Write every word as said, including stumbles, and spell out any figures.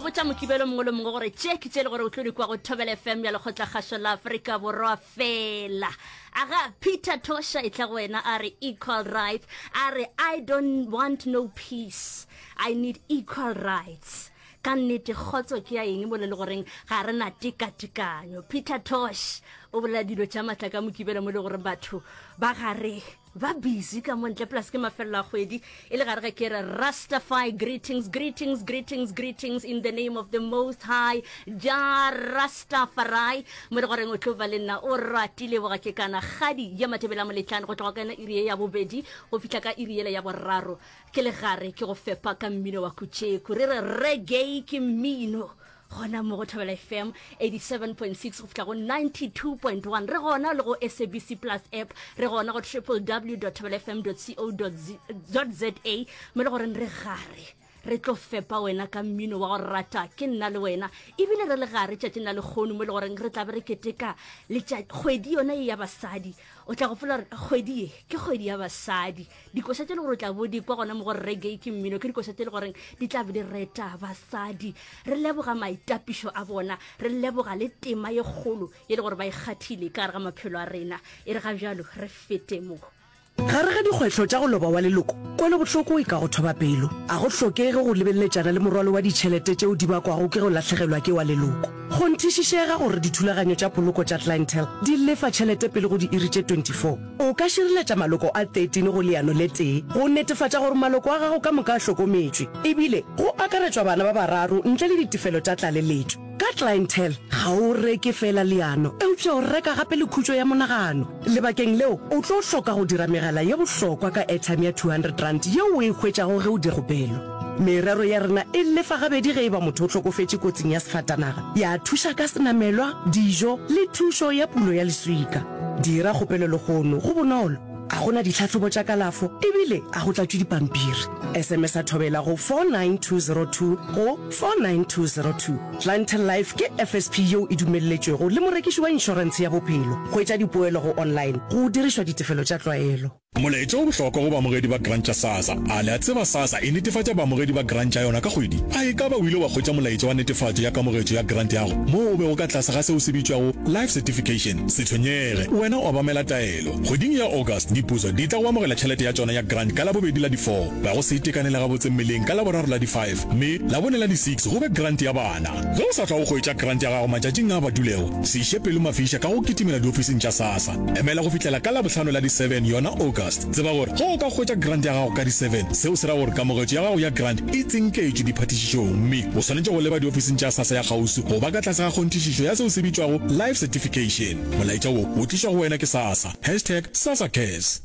botša Mokibelo mongwe le mongwe gore tše ke tše le gore o tlo di kwa go Thobela F M ya Lekgotlakgašo la Afrika Borwa fela. Aga Peter Tosha e tla go wena, a re equal rights, a re I don't want no peace, I need equal rights. Ka nnete, kgotso ke ya eng mo le le goreng ga re na tekatekanyo? Peter Tosh o bolela dilo tša maatla ka Mokibelo mo le gore batho ba gare ba busy ka mo ntle, plus ke mafelelo a kgwedi. E le gare ge ke re Rastafari greetings, greetings, greetings, greetings in the name of the Most High Jah Rastafari, mo le goreng o tlo ba le nna o ratile boga ke kana kgadi ya Matebela Moletlane go tloga ka yona iri ye ya bobedi go fihla ka iri yela ya boraro. Ke le gare ke go fepa ka mmino wa kutšeku, re re reggae ke mmino gona mo go Thobela F M eighty-seven point six go fihla go ninety-two point one. Re gona le go S A B C Plus app, re gona go W W W thobela F M co za, mo le goreng re gare re tlo fepa wena ka mmino wa go rata ke nna le wena. Ebile re le gare tšatšing la lekgono mo le goreng re tla be re keteka kgwedi yona e ya basadi. O tla gopola gore kgwedi ye ke kgwedi ya basadi. Dikoša tše le gore o tla bo di kwa gona mo gore reggae ke mmino ke dikoša tše le goreng di tla be di reta basadi, re leboga maitapišo a bona, re leboga le tema ye kgolo ye le gore ba ikgathile ka gare ga maphelo a rena. E re ga bjalo re fete mo. Gare ga dikgwetlho tša go loba wa leloko, kwelobohloko e ka go thoba pelo. A go hlokege go lebeletšana le morwalo wa ditšhelete tšeo di bakwago ke go lahlegelwa ke wa leloko. Kgonthišišega gore dithulaganyo tša poloko tša Clientele di lefa tšhelete pele go diiri tše twenty-four. O ka šireletša maloko a thirteen go leano le tee go netefatša gore maloko a gago ka moka a hlokometšwe, ebile go akaretšwa bana ba bararo ntle le ditefelo tša tlaleletšo. Ka Clientele, ga o reke fela leano, eupša o reka gape le khutšo ya monagano. Lebakeng leo, o tlo hloka go dira megala ye bohlokwa ka airtime ya two hundred rand yeo o e hwetšago ge o dira kgopelo. Merero ya rena e lefa gabedi ge e ba motho o hlokofetše kotsing ya sefatanaga, ya thuša ka senamelwa, dijo le thušo ya pulo ya leswika. Dira kgopelo lehono, go bonolo, a gona ditlhahlobo tša kalafo ebile a go tlatšwe dipampiri. S M S a Thobela go four nine two zero two go four nine two zero two. Clientele Life ke F S P yeo e dumelletšwego le morekiši wa inšorentshe ya bophelo. Hwetša dipoelo go online go dirišwa ditefelo tša tlwaelo. Molaetša o bohlokwa go baamogedi ba grant tša SASSA. A le a tseba SASSA e netefatša baamogedi ba grant tša yona ka kgwedi? A e ka ba o ile wa hwetša molaetša wa netefatšo ya kamogetšo ya grant yago moo o bego ka tlase ga seo se bitšwago life certification? Se tshwenyege, wena o obamela taelo. Kgweding ya August diputso di tla go amogela tšhelete ya tšona ya grant ka Labobedi la di-four, ba go se itekanele gabotse mmeleng ka Laboraro la di-five, mme Labone la di-six go be grant ya bana. Ge o sa hlwa o hwetša grant ya gago matšatšing a badulego, se iše pelo mafiša ka go kitimela diofising tša SASSA. Emela go fihlela ka Labohlano la di-seven yona August. Tseba gore ge o ka hwetša grant ya gago ka di-seven, seo se ra gore kamogetšo ya gago ya grant e tsinketšwe diphatišišong, mme o swanetše go leba diofising tša SASSA ya kgauswi go ba ka tlase ga kgonthišišo ya seo se bitšwago life certification. Molaetša wo o tlišwa go wena ke SASSA, hashtag SASSA Cares.